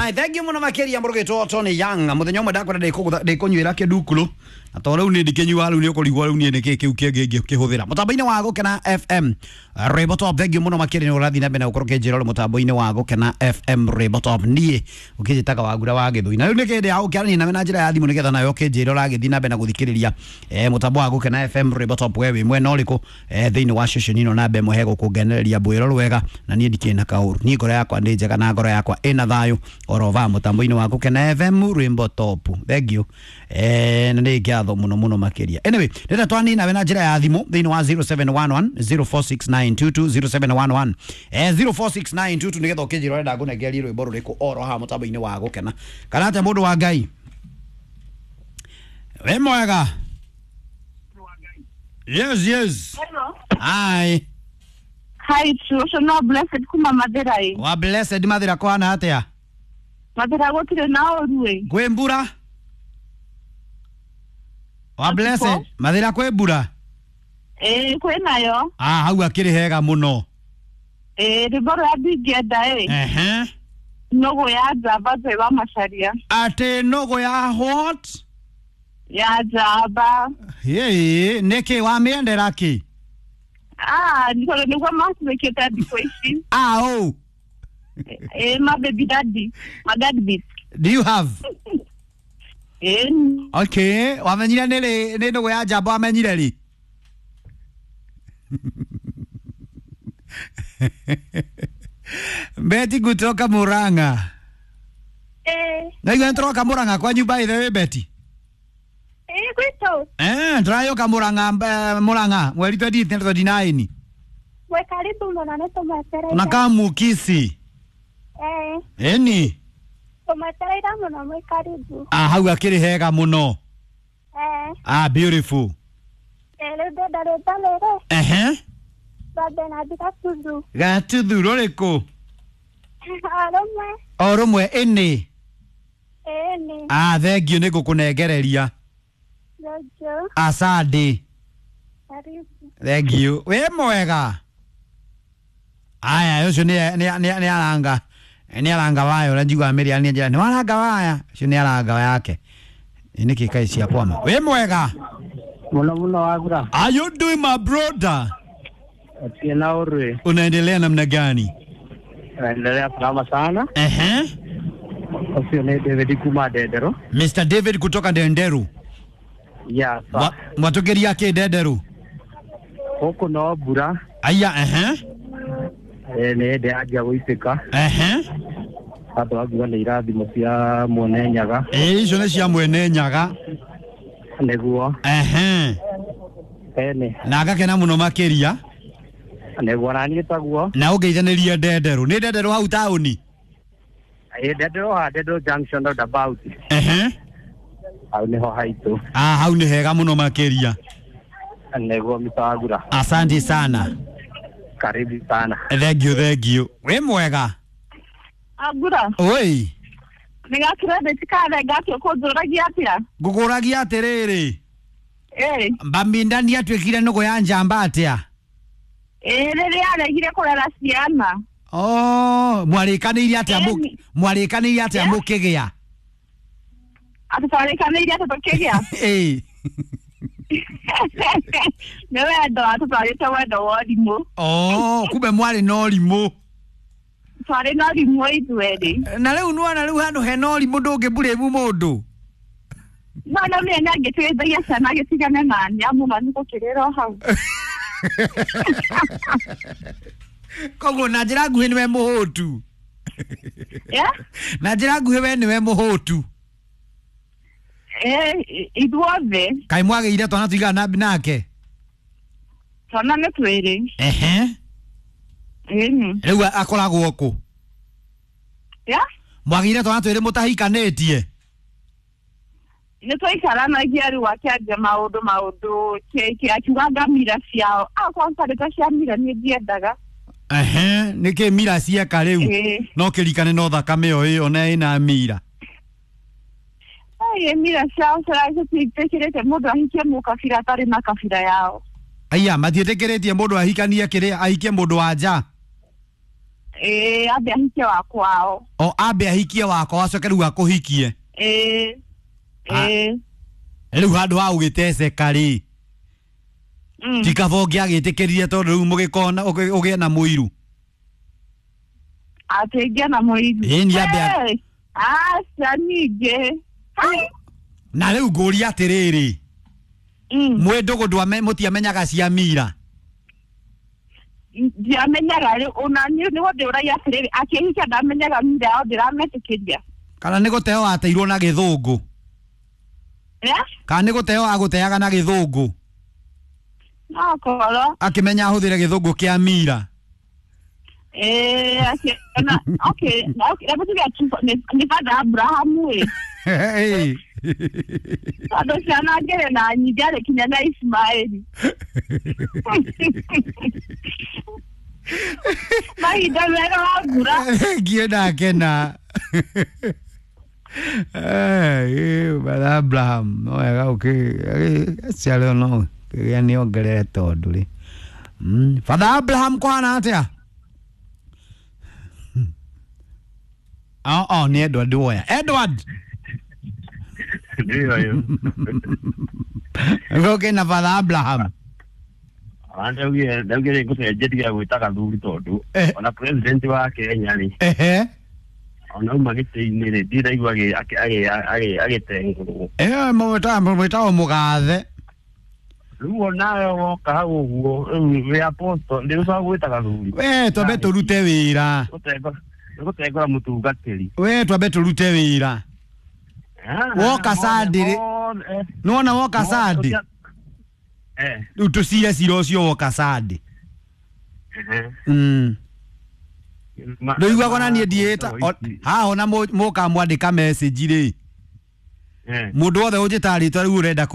Ai, thank you muno makiria murugitwo Tony Young. Muthenya umwe ndakwenda ndikunyuira kindukulu. Na to riu ni ndikĩnyua riu ni ũkũrigwo riu ni nĩkĩ kĩu kĩngĩ ngĩkĩhũthĩra. Mũtambo-inĩ wa Gũkena FM Rwĩmbo Top, thank you muno makĩria nĩ ũrathiĩ na mbere na gũkorwo ũkĩnjĩra ũrĩ mũtambo-inĩ wa Gũkena FM Rwĩmbo Top. Niĩ ũkĩnjĩtaga Wagura wa Gĩthũi. Na rĩu nĩ kĩndĩ ya gũkĩaranĩria nawe na njĩra ya thimũ nĩgetha nawe ũkĩnjĩra ũragĩthiĩ na mbere na gũthikĩrĩria mũtambo wa Gũkena FM Rwĩmbo Top we wĩ mwena ũrĩkũ thĩinĩ wa ceceni ĩno namba ĩmwe hegũkũngenereria mbwĩro rwega na niĩ ndikĩrĩ na kaũru. Niĩ ngoro yakwa nĩ njega na ngoro yakwa ĩna thayũ orova mũtambo-inĩ wa Gũkena FM Rwĩmbo Top. Thank you. Na nĩ ngatho mũno mũno makĩria. Anyway, rĩrĩa twanina we na njĩra ya thimũ thĩinĩ wa 0711 046922 0711 046922 nĩgetha ũkĩnjĩra ũrenda ngũnengerie rwĩmbo rũrĩkũ oro haha mũtambo-inĩ wa Gũkena. Kana atĩa mũndũ wa Ngai? Wĩ mwega? Yes, yes. Hello. Hi. Hi, True. No blessed kuma Mathira ĩ. Wa blessed Mathira kwana atĩa? Mathira gũtirĩ na ũru ĩ. Kwĩ mbura? Wa blessed Mathira kwĩ mbura? Ĩ kwĩ nayo. Ah, hau akĩrĩ hega mũno. Ĩ rwĩmbo rũrĩa ndingĩenda ĩ. Ehe. Nũgũ ya njamba Joy wa Macharia. Atĩ nũgũ ya what? Ya njamba. Ĩĩ, nĩkĩ wamĩendera kĩ? Ah, nĩ tondũ nĩguo matuĩkĩte thikũ ici. Ah, oh. Ĩ ma baby daddy. Ma dad beat. Do you have? Ĩ Okay, wamenyire nĩ rĩ nĩ nũgũ ya njamba wamenyire rĩ? Betty kutoka Murang'a. Eh, Naigua nĩtũroka Murang'a kwanyu by the way Betty. eh, gwitũ Eh, tũrayũka Murang'a Murang'a mweri 29. mwĩ karibu mũno nĩ tũmwetereire. Tunakaa Mukisi. Eh, Ĩni. tũmwetereire mũno mwĩ karibu. Ah, hau akĩrĩ hega mũno. Eh, Ah, beautiful. eh, rĩu ndĩrenda rwĩmbo rũrĩ Ehe. rwa Bernard Gatuthu. Gatuthu rũrĩkũ? O rũmwe. O rũmwe ĩnĩ. Ĩĩ nĩ. Ah, thank you nĩ ngũkũnengereria. Jojo. Asante. Karibu. Thank you. Wĩ mwega. Aya, ũcio nĩ aranga. Nĩ aranga waya ũrĩa njiguaga mĩrĩa nĩ njĩra. Nĩ waranga waya. Ũcio nĩ aranga yake. Nĩ kĩ kaĩ cia kwama. Wĩ mwega. Muno muno Wagura. Are you doing my brother? Atie na urwe. Unaendelea namna gani? Naendelea salama sana. Ehe. Ũcio nĩ David kuma Ndenderũ. Mr. David kutoka Ndenderu. Ya sa. Mwatũkĩria kĩ Ndenderu? Gũkũ no mbura. Aya, ehe. Nĩ hĩndĩ yanjia gũitĩka. Ehe. Andũ angiuga nĩ irathimo cia mwene Nyaga. Ĩĩ icio nĩ cia mwene Nyaga. Nĩguo. Ehe. Ene. Na ngakena mũno makĩria. Nĩguo na niĩ taguo. Na ũngeithanĩrie Ndenderu. Nĩ Ndenderu hau taũni? Ĩ Ndenderũ ha Ndenderũ junction roundabout. Ehe. Hau nĩho haitũ. Ah, hau nĩ hega mũno makĩria. Nĩguo Mr. Wagura. Asante sana. Karibu sana. Thank you, thank you. Wĩ mwega. Agura. Oi. Nĩ gakirendeti karenga atĩa ũkũnjũragia atĩa? Ngũkũragia atĩrĩrĩ. Ĩ. Mbaminda nĩ atuĩkire nũgũ ya njamba atĩa? Ĩ rĩrĩa aregire kũrera ciana. Oh, mwarĩkanĩire atĩa Ĩni. mwarĩkanĩire atĩa Yeah. mũkĩgĩa? Atĩ twarĩkanĩire atĩ tũkĩgĩa. Ĩĩ. Nĩ wendo atũtwarĩte wendo wa ũrimũ. Oh, kumbe mwarĩ na ũrimũ. Twarĩ na ũrimũ ithuerĩ. Na rĩu nĩwona rĩu handũ hena ũrimũ ndũngĩmburĩmu mũndũ. No no mĩe nĩ angĩteithagia ciana agĩtigane na nĩ mũno nĩ gũkĩrĩra o hau. Koguo na njĩra nguhĩ nĩwe mũhũtu. Yeah? Na njĩra nguhĩ we nĩwe mũhũtu. Eh, ithuothe Kaĩ mwagĩire twana tũigana nake? twana nĩ twĩrĩ. Ehe. Ĩni. Rĩu akoragwo kũ? Yeah? Mwagĩire twana twĩrĩ mũtahikanĩtie? Nĩ twaikaranagia rĩu akĩanjia maũndũ maũndũ akiuga ngamira ciao. Akorwo ntarĩ cia mira niĩ ndiendaga. Ehe, nĩkĩ mira cieka rĩu? Ĩĩ. No kĩrikane no thakame o ĩyo na ĩna mira. Ĩĩ mira ciao citiĩtĩkĩrĩte mũndũ ahikie mũkabira atarĩ na kabira yao. Aya, matiĩtĩkĩrĩtie mũndũ ahikanie kĩrĩa ahikie mũndũ wa nja. Ĩĩ, ambe ahikie wa kwao. O ambe ahikie wakwa acoke rĩu akũhikie. Ĩĩ. Ah. Ĩĩ. Rĩu handũ ha ũgĩteceka rĩ, ti kaba ũngĩagĩtĩkĩrire tondũ rĩu mũgĩkona ũgĩe na mũiru. Atĩ ngĩe na mũiru. Ĩĩ, ni ambe Hey, aca ningĩ. Hai. Na rĩu ngũria atĩrĩrĩ, mwĩ ndũgũ mũtiamenyaga cia mira? Ndiamenyaga rĩu ona niĩ nĩguo ndĩũragia atĩrĩrĩ, akĩhikia ndamenyaga mira yao, ndĩrametĩkĩria. Kana nĩ gũteo ateirwo na gĩthũngũ? Eh? Kana nĩ gũteo agũteaga na gĩthũngũ? No korwo. Akĩmenya ahũthĩre gĩthũngũ kĩa mira. Ĩĩ, akĩona okay, okay, hebu tuge tu nĩ Father Abraham ĩ. Ĩĩ. Tondũ ciana ngĩrĩ na nyingĩ arĩ kinya na Ismaeli. Mahinda mega wa mbura. Ngiĩ ndakena. Brother Abraham no wega ũkĩciarwo no kĩgĩa nĩ ongerere tondũ rĩ. Father Abraham kwana atĩa? Oh, oh, nĩ Edward woya. Edward. Ndio hiyo. Gũkĩ na Father Abraham. Ndaugire ngũcenjeria gwĩta gathuri tondũ Eh. ona president wa Kenya rĩ, Ehe. ona auma gĩtĩ-inĩ rĩ, ndiraigua agĩtengũrwo. Mwĩtagwo mũgathe. Rĩu onawe woka hau ũguo rĩu wĩ apostle ndĩrũcaga gwĩta gathuri. We twambe tũrute wĩra. Nĩgũtengũra mũtungatĩri. We twambe tũrute wĩra. Woka Sunday rĩ, nĩwona woka Sunday? Rĩu tũcire cira ũcio woka Sunday. Ndũiguaga ona niĩ ndiĩta haha ona mũkamwandĩka message rĩ, mũndũ wothe ũnjĩtaga rĩtwa rĩu ũrenda kũ